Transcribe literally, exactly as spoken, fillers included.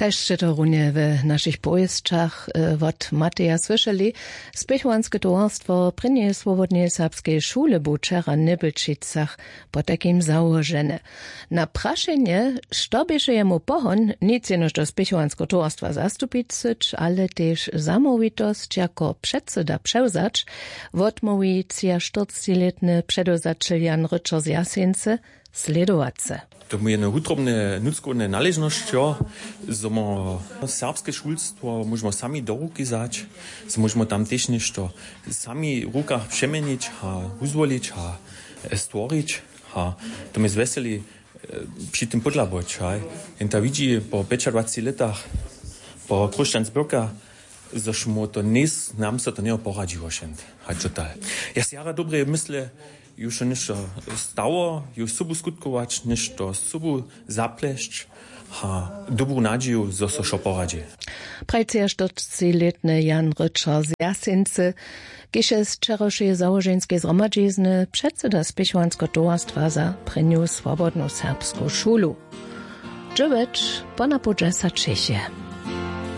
Kaž sće to runje w našich powěsćach wot mateja słyšeli, spěchowanske towarstwo prěnjeje swobodneje serbskeje šule bu wčera w njebelčicach potajkim załožene. Na prašenje, što běše jemu pohon, nic jenož do spěchowanske towarstwa zastupić syć ale tež zamołwitosć jako předsyda přewzać, wotmołwi třiaštyrclětny předewzaćel jan ryćer z jaseńce. Slědowace. To mu je jedne wutrobne nutřkowne naležnosć jo, zo mo serbske šulstwo móžemo sami do ruki wzać, zo móžemo tam tež něšto sami w rukach přeměnić a wuzwolić a stworić. A to mi zwjeseli při tym pódlaboć haj, jenta widźi po pjećadwaceći lětach po chróšćan zbyrka, zož mu to njejs nam so to njeho poradźiło šent. Hač dotal, ja si jara dobre mysle, ju so něšto stało, ju sobu skutkować, něšto sobu zaplesć a dobru nadźiju zo so wšo poradźi. Prajceja štyrclětny jan ryćer z jaseńcy, kiž je z wčerawšeje załoženskej zhromadźizny předsyda spěchowanskeho towarstwa za prěnju swobodnu serbsku šulu. Dźewjeć ponapołdźesa čěch je.